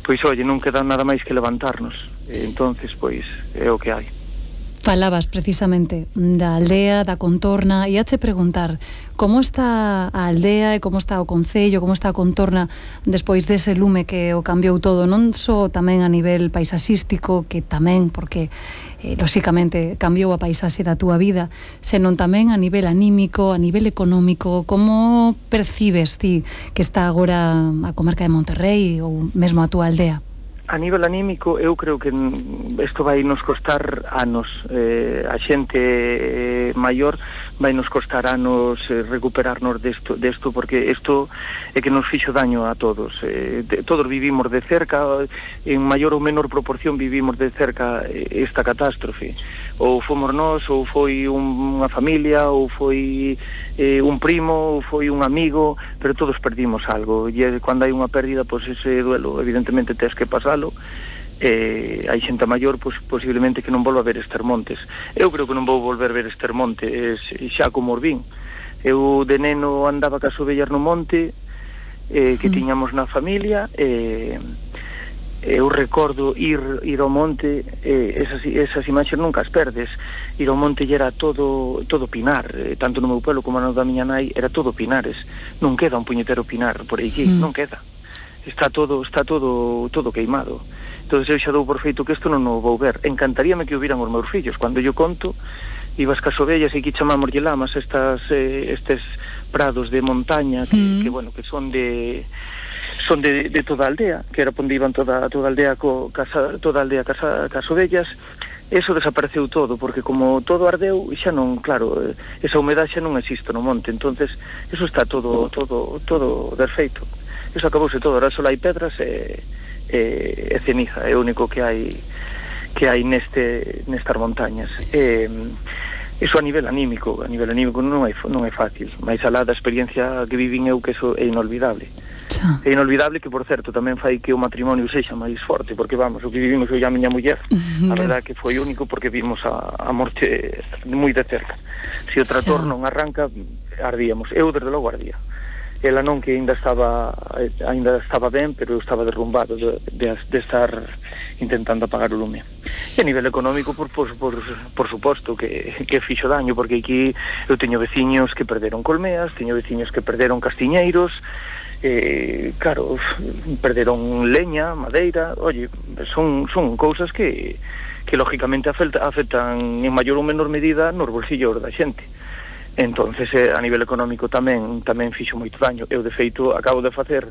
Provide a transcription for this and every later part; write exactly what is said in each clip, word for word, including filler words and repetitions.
pois, oye, non queda nada máis que levantarnos. E, entonces, pois, é o que hai. Falabas precisamente da aldea, da contorna, e hache preguntar como está a aldea e como está o concello, como está a contorna despois dese lume que o cambiou todo, non só tamén a nivel paisaxístico, que tamén, porque eh, lóxicamente cambiou a paisaxe da túa vida, senón tamén a nivel anímico, a nivel económico. Como percibes ti que está agora a comarca de Monterrey ou mesmo a túa aldea? A nivel anímico, eu creo que isto vai nos costar anos. Eh, a xente eh, maior vai nos costar anos eh, recuperarnos desto, desto, porque isto é que nos fixo daño a todos. Eh, de, todos vivimos de cerca, en maior ou menor proporción vivimos de cerca esta catástrofe. Ou fomos nós, ou foi un, unha familia, ou foi eh, un primo, ou foi un amigo, pero todos perdimos algo. E cando hai unha pérdida, pois ese duelo, evidentemente, tens que pasar. Eh, hai xente maior, pois, posiblemente que non volva a ver Estermontes. Eu creo que non vou volver a ver Estermontes xa como os vin. Eu de neno andaba cas ovellas no monte, eh, que tiñamos na familia, e eh, eu recordo ir ir ao monte, eh, esas, esas imaxes nunca as perdes. Ir ao monte era todo todo pinar, eh, tanto no meu pueblo como no da miña nai, era todo pinares. Non queda un puñetero pinar por aquí, mm. non queda. Está todo está todo todo queimado. Entonces eu xa dou por feito que isto non o vou ver. Encantaríame que o viran os meus fillos. Cando yo conto, ibas cas ovellas e que chamamos lamas, estas eh, estes prados de montaña que, mm. que bueno, que son de son de, de toda a aldea, que era onde iban toda toda a aldea co casa, toda a aldea casa cas ovellas. Eso desapareceu todo, porque como todo ardeu, xa non, claro, esa humedade xa non existe no monte. Entonces eso está todo todo todo desfeito. Eso acabouse todo, ahora só hai pedras e, e, e ceniza, é o único que hai que hai neste nestas montañas. E, eso a nivel anímico, a nivel anímico non é non é fácil, máis alá da experiencia que vivín eu, que eso é inolvidable. Xa. É inolvidable, que por certo tamén fai que o matrimonio sexa máis forte, porque vamos, o que vivimos eu e a miña muller, a verdade que foi único, porque vimos a, a morte moi de cerca. Se o trator non arranca, ardíamos. Eu desde logo ardía. Ela non, que ainda estaba ainda estaba ben, pero eu estaba derrumbado de, de, de estar intentando apagar o lume. E a nivel económico, por, por, por, por suposto que, que fixo daño, porque aquí eu teño veciños que perderon colmeas, teño veciños que perderon castiñeiros, eh, claro, perderon leña, madeira. Oye, son, son cousas que, que lógicamente afecta, afectan en maior ou menor medida nos bolsillos da xente. Entonces, eh, a nivel económico tamén tamén fixo moito daño. Eu, de feito, acabo de facer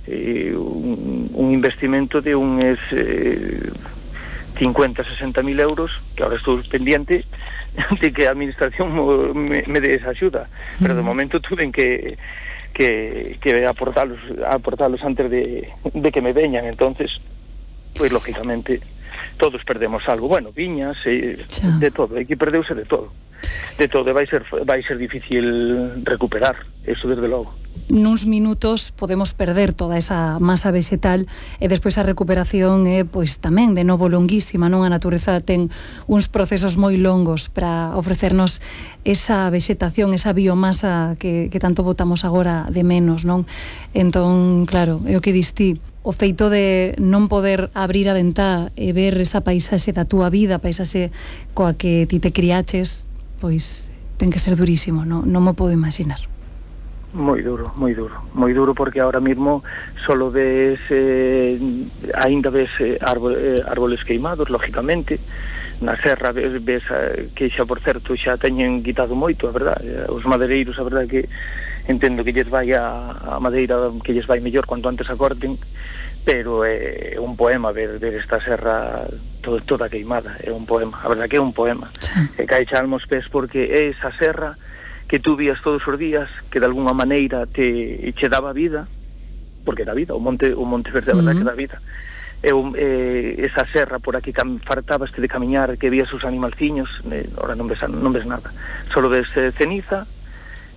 eh, un, un investimento de uns eh, cincuenta, sesenta mil euros, que ahora estou pendiente de que a administración me, me dé esa axuda. Pero de momento tuve que que, que aportalos, aportalos antes de, de que me veñan. Entonces, pois, lógicamente, todos perdemos algo. Bueno, viñas, eh, de todo. Aquí perdeuse de todo. De todo, vai ser vai ser difícil recuperar, eso desde logo. Nuns minutos podemos perder toda esa masa vegetal e despois a recuperación é, pois, tamén de novo longuísima, non? A natureza ten uns procesos moi longos para ofrecernos esa vegetación, esa biomasa que, que tanto botamos agora de menos, non? Entón, claro, é o que dis ti, o feito de non poder abrir a ventá e ver esa paisaxe da túa vida, paisaxe coa que ti te criaches, pois ten que ser durísimo, non, non me podo imaginar. Moi duro, moi duro, moi duro, porque ahora mismo solo ves, eh, ainda ves eh, árbol, eh, árboles queimados, lógicamente. Na serra ves, ves eh, que xa, por certo, xa teñen quitado moito, a verdade. Os madeireiros, a verdade que entendo que lles vai a, a madeira, que lles vai mellor cuanto antes a corten, pero é eh, un poema ver, ver esta serra todo, toda queimada, é un poema, a verdade que é un poema. Sí. E cae xa almos pés, porque é esa serra que tú vías todos os días, que de alguna maneira te che daba vida, porque da vida, o monte o monte verde, a verdade, uh-huh, que dá vida. E eh, esa serra por aquí cam, fartabaste de camiñar, que vías os animalciños, eh, ahora non ves, non ves nada, solo ves eh, ceniza,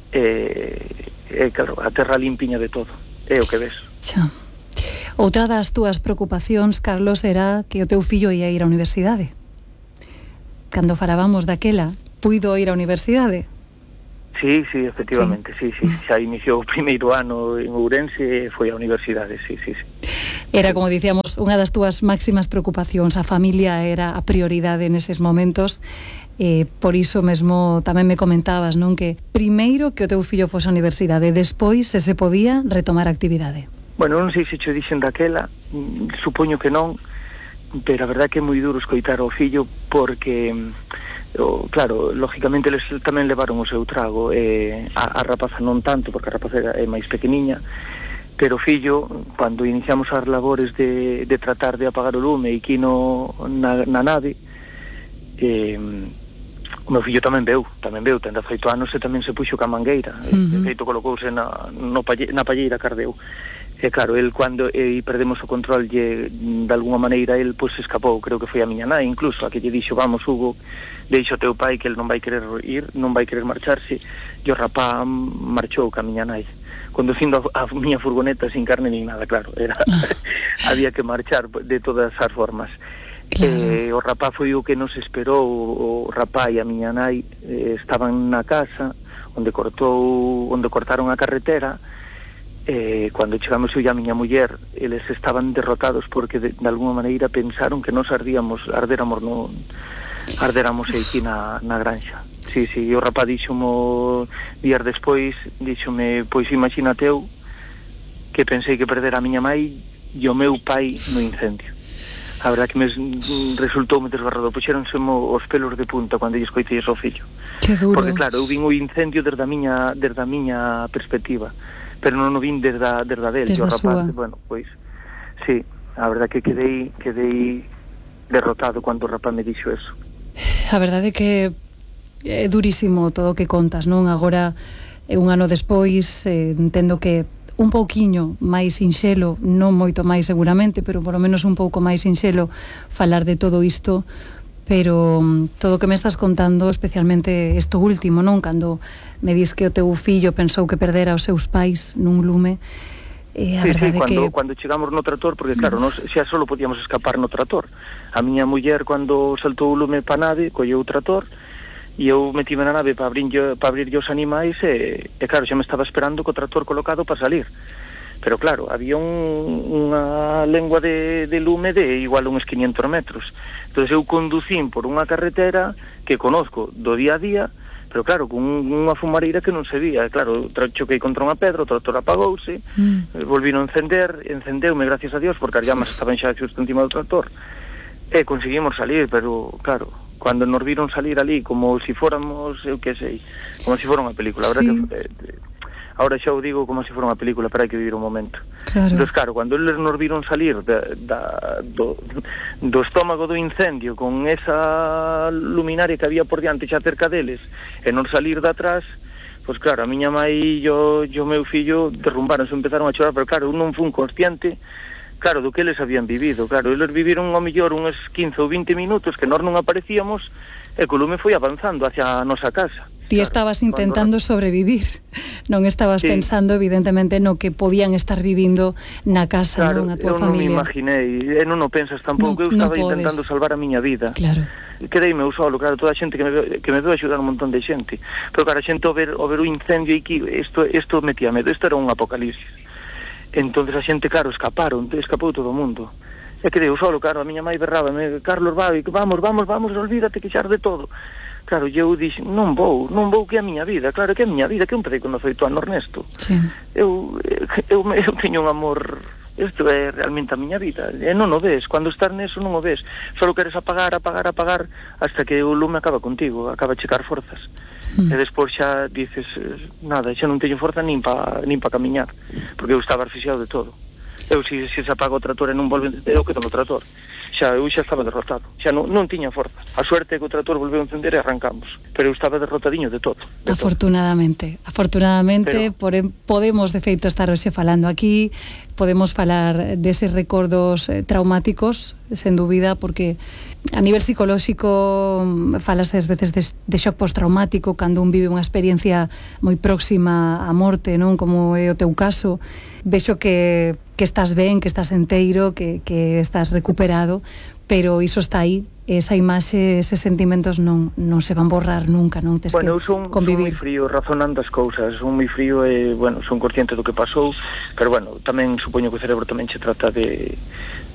e eh, eh, claro, a terra limpiña de todo, é o que ves. Xa. Outra das túas preocupacións, Carlos, era que o teu fillo ia ir á universidade. Cando falábamos daquela, puido ir á universidade? Sí, sí, efectivamente, sí, sí, sí. Xa iniciou o primeiro ano en Ourense e foi á universidade, sí, sí, sí. Era, como dicíamos, dos, unha das túas máximas preocupacións, a familia era a prioridade neses momentos. Eh, por iso mesmo tamén me comentabas, non, que primeiro que o teu fillo fose á universidade, despois se se podía retomar a actividade. Bueno, non sei se cho dixen daquela, supoño que non, pero a verdade que é moi duro escoitar ao fillo porque, o, claro, lógicamente eles tamén levaron o seu trago, eh, a, a rapaza non tanto, porque a rapaza é máis pequeniña, pero o fillo, cando iniciamos as labores de, de tratar de apagar o lume e aquí no, na, na nave, eh, o meu fillo tamén veu, tamén veu, ten dezaoito anos e tamén se puxo ca mangueira, uh-huh. De feito colocouse na, no palle, na palleira cardeu. E claro, el cando e perdemos o control lle, de alguma maneira, el pois pues, escapou, creo que foi a miña nai incluso, a que lle dixo, vamos Hugo, deixa o teu pai que el non vai querer ir, non vai querer marcharse, e o rapá marchou ca miña nai, conducindo a, a miña furgoneta sin carne nin nada, claro, era había que marchar de todas as formas. Claro. Eh, o rapá foi o que nos esperou, o rapá e a miña nai eh, estaban na casa onde cortou, onde cortaron a carretera. Eh, cando chegamos eu e a miña muller, eles estaban derrotados porque de, de alguma maneira pensaron que nos ardíamos, ardéramos no, ardéramos aquí na, na granxa. Sí, sí, e o rapá díxomo días despois, díxome, pois imagínate eu que pensei que perder a miña mai e o meu pai no incendio. A verdade que me resultou me desgarrado, puxéronse os pelos de punta cando lle escoitei ao fillo. Que duro. Porque claro, eu vin o incendio desde a miña, desde a miña perspectiva, pero non o vin desde a, desde a del, desde o rapaz, súa. Bueno, pois, sí, a verdade que quedei, quedei derrotado cando o rapaz me dixo eso. A verdade que é durísimo todo o que contas, non? Agora, un ano despois, eh, entendo que un pouquiño máis sinxelo, non moito máis seguramente, pero por lo menos un pouco máis sinxelo falar de todo isto, pero todo o que me estás contando, especialmente isto último, non? Cando me dis que o teu fillo pensou que perdera os seus pais nun lume, eh, a sí, verdade sí, cuando, que... cando chegamos no trator, porque claro, nos, xa solo podíamos escapar no trator. A miña muller, cando saltou o lume pa nave, colleu o trator, e eu metime na nave para abrir, para abrir os animais e, e claro, xa me estaba esperando co trator colocado para salir, pero claro, había un, unha lengua de, de lume de igual uns quinientos metros, entón eu conducín por unha carretera que conozco do día a día, pero claro, con unha fumareira que non se vía, claro, choquei contra unha pedra, o trator apagouse, mm. volvín a encender, encendeume, gracias a Dios, porque as llamas estaban xa xusto encima do trator, e conseguimos salir, pero claro, cando nos viron salir ali como si fóramos, eu que sei, como si fora unha película, a verdad sí. que eh, ahora xa o digo como si fora unha película, pero hai que vivir un momento. Claro. Entón, claro, cando eles nos viron salir da, da, do, do estómago do incendio con esa luminaria que había por diante xa cerca deles e non salir de atrás, pois claro, a miña mai e o meu fillo derrumbaronse, empezaron a chorar, pero claro, eu non fui consciente, claro, do que eles habían vivido. Claro, eles viviron ao mellor uns quince ou vinte minutos que nós non aparecíamos e que o lume foi avanzando hacia a nosa casa. Ti claro, estabas intentando cuando... sobrevivir, non estabas sí. pensando evidentemente no que podían estar vivindo na casa, claro, non a tua familia. Claro, eu non me imaginei, e non o pensas tampouco, no, eu estaba no intentando salvar a miña vida. Claro. Quedeime eu solo, claro, toda a xente que me veo, que me veo axudar un montón de xente, pero claro, a xente ao ver, ao ver o incendio aquí, isto, isto metía medo, isto era un apocalipsis. Entonces a xente, claro, escaparon, escapou todo o mundo. E que deu solo, claro, a miña mai berraba, me, Carlos, vai, vamos, vamos, vamos, olvídate que xa de todo. Claro, eu dixo, non vou, non vou, que é a miña vida, claro, que é a miña vida, que un pedei con dezaoito anos, Ernesto. Sí. Eu, eu, eu teño un amor, isto é realmente a miña vida, e non o ves, cando estás neso non o ves, só queres apagar, apagar, apagar, hasta que o lume acaba contigo, acaba a checar forzas. Mm. E despois xa dices, nada, xa non teño forza nin pa, nin pa camiñar, porque eu estaba asfixiado de todo. Eu, se, se se apaga o trator e non volve, eu quedo no trator. Xa, eu xa estaba derrotado, xa non, non tiña forza. A suerte é que o trator volveu a encender e arrancamos, pero eu estaba derrotadiño de todo. De afortunadamente, todo. afortunadamente pero... por, podemos de feito estar hoxe falando aquí, podemos falar deses recordos eh, traumáticos, sen dúbida, porque a nivel psicolóxico falase ás veces de, de shock postraumático cando un vive unha experiencia moi próxima á morte, non? Como é o teu caso. Vexo que, que estás ben, que estás enteiro, que, que estás recuperado, pero iso está aí esa imaxe, eses sentimentos non, non se van borrar nunca, non tes bueno, que son, convivir. Son moi frío razonando as cousas, son moi frío e, bueno, son consciente do que pasou, pero, bueno, tamén supoño que o cerebro tamén se trata de,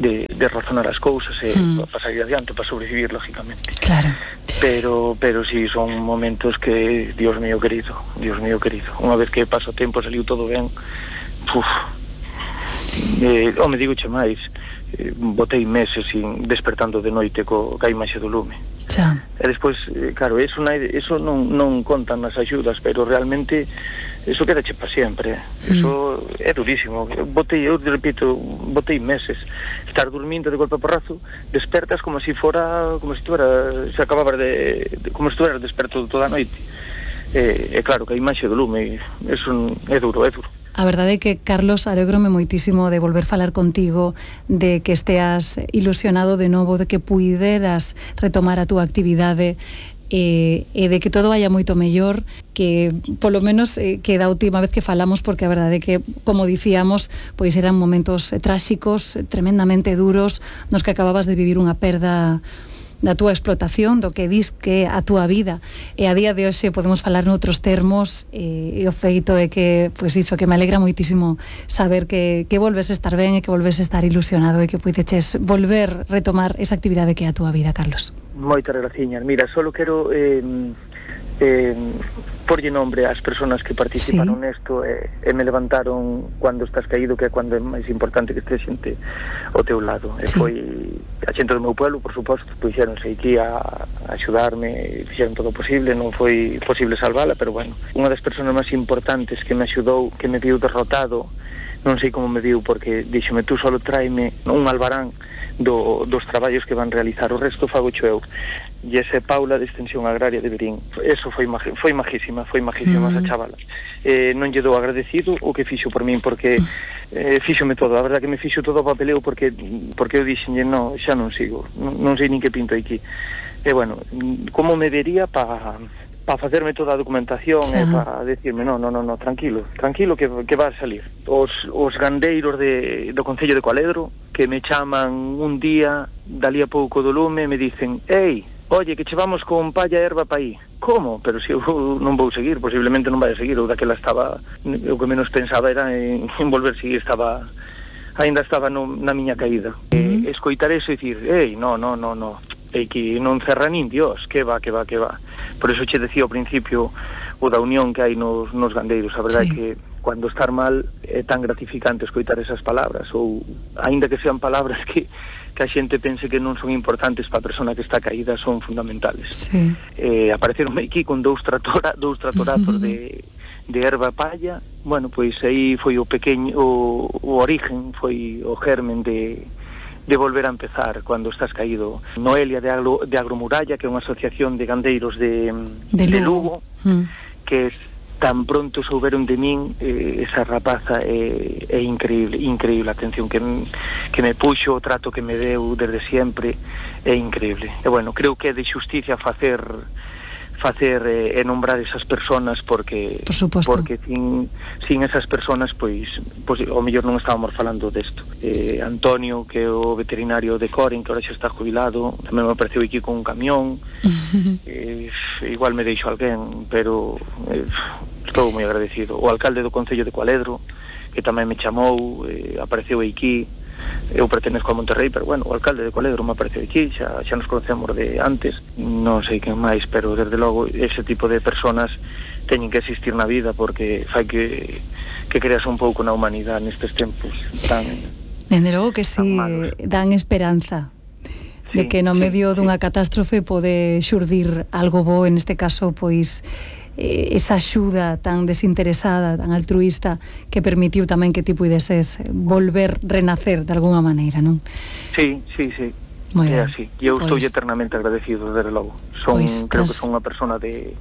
de, de razonar as cousas e mm. para salir adiante, para sobrevivir, lógicamente. Claro. Pero, pero sí, son momentos que, Dios mío querido, Dios mío querido, unha vez que pasa o tempo, saliu todo ben, uf, eh, o me digo che máis, Eh, botei meses sin despertando de noite co, ca imaxe do lume. Xa. E despois, eh, claro, eso, na, eso non, non contan nas axudas, pero realmente eso quedache para sempre. Eso mm. é durísimo. Botei, eu repito, botei meses. Estar dormindo de golpe a porrazo, despertas como se si fora, como se si tuera, se acababa de, de como se si tuera desperto toda a noite. E, e claro, que a imaxe do lume, eso é duro, é duro. A verdade é que, Carlos, alégrome moitísimo de volver falar contigo, de que esteas ilusionado de novo, de que puideras retomar a túa actividade e, e de que todo vaya moito mellor, que polo menos eh, que da última vez que falamos, porque a verdade é que, como dicíamos, pois eran momentos eh, tráxicos, tremendamente duros, nos que acababas de vivir unha perda da túa explotación, do que dis que a túa vida, e a día de hoxe podemos falar noutros termos, e, e o feito é que, pois iso, que me alegra moitísimo saber que, que volves a estar ben e que volves a estar ilusionado e que puideches volver retomar esa actividade que é a túa vida, Carlos. Moitas graciñas. Mira, solo quero eh, eh, porlle nombre ás persoas que participaron sí. nesto e, e me levantaron cando estás caído, que é cando é máis importante que este xente ao teu lado. E sí. foi a xente do meu pueblo, por suposto, puxéronse aquí a, a axudarme, fixeron todo o posible, non foi posible salvala, pero bueno, unha das persoas máis importantes que me axudou, que me viu derrotado, non sei como me viu, porque díxome, tú solo tráeme un albarán do, dos traballos que van realizar, o resto fago eu. E ese Paula de Extensión Agraria de Verín, eso foi magi, foi majísima, foi majísima mm. esa chavala. Eh, non lle dou agradecido o que fixo por min, porque eh, fíxome todo, a verdade que me fixo todo o papeleo, porque porque eu dixenlle, no, xa non sigo, non, non sei nin que pinto aquí. E bueno, como me vería para para facerme toda a documentación e para decirme, no, no, no, no, tranquilo, tranquilo que, que va a salir. Os, os gandeiros de, do Concello de Cualedro, que me chaman un día, dalí a pouco do lume, me dicen, ei, oye, que che vamos con palla e erva pa aí. Como? Pero se eu non vou seguir, posiblemente non vai a seguir, ou daquela estaba, o que menos pensaba era en, en volver a seguir, estaba, ainda estaba no, na miña caída. Mm-hmm. E, escoitar eso e dicir, ei, no, no, no, no, e que non cerra nin Dios, que va, que va, que va. Por eso che decía ao principio o da unión que hai nos, nos gandeiros, a verdade sí. é que cando estar mal é tan gratificante escoitar esas palabras, ou aínda que sean palabras que que a xente pense que non son importantes para a persona que está caída, son fundamentales. Sí. Eh, apareceronme aquí con dous, tratora, dous tratorazos de, de erva palla, bueno, pois aí foi o pequeño, o, o origen, foi o germen de, de volver a empezar cando estás caído. Noelia de, Agro, de Agromuralla, que é unha asociación de gandeiros de, de, de Lugo, mm. que es tan pronto souberon de min, eh, esa rapaza é, é increíble, increíble a atención que, que me puxo, o trato que me deu desde sempre, é increíble. E bueno, creo que é de xusticia facer facer eh, e nombrar esas personas, porque Por porque sin, sin esas personas pois, pois o mellor non estábamos falando desto. Eh, Antonio, que é o veterinario de Coren, que ahora xa está jubilado, tamén me apareceu aquí con un camión. eh, igual me deixo alguén, pero eh, estou moi agradecido. O alcalde do Concello de Cualedro, que tamén me chamou, eh, apareceu aquí. Eu pertenezco a Monterrey, pero bueno, o alcalde de Cualedro me apareceu aquí, xa, xa nos conocemos de antes, non sei quen máis, pero desde logo ese tipo de personas teñen que existir na vida, porque fai que, que creas un pouco na humanidade nestes tempos tan Dende logo que si sí, dan esperanza de sí, que no medio sí, dunha sí. catástrofe pode xurdir algo bo, en este caso, pois esa axuda tan desinteresada, tan altruista, que permitiu tamén que ti puideses volver, renacer de alguna maneira, non? Sí, sí, sí. Muy é así. E eu estou pues, eternamente agradecido, desde logo. Son, pues, creo que son unha persona de,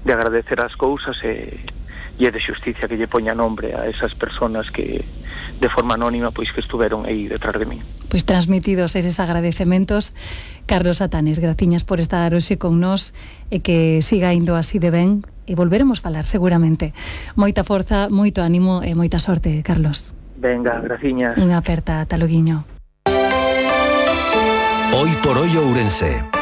de agradecer as cousas e, e é de xusticia que lle poña nombre a esas personas que de forma anónima pois que estuveron aí detrás de min. Pois transmitidos eses agradecementos, Carlos Satanes, graciñas por estar hoxe con nós e que siga indo así de ben e volveremos falar seguramente. Moita forza, moito ánimo e moita sorte, Carlos. Venga, graciñas. Unha aperta, ata loguiño. Hoy por hoy Ourense.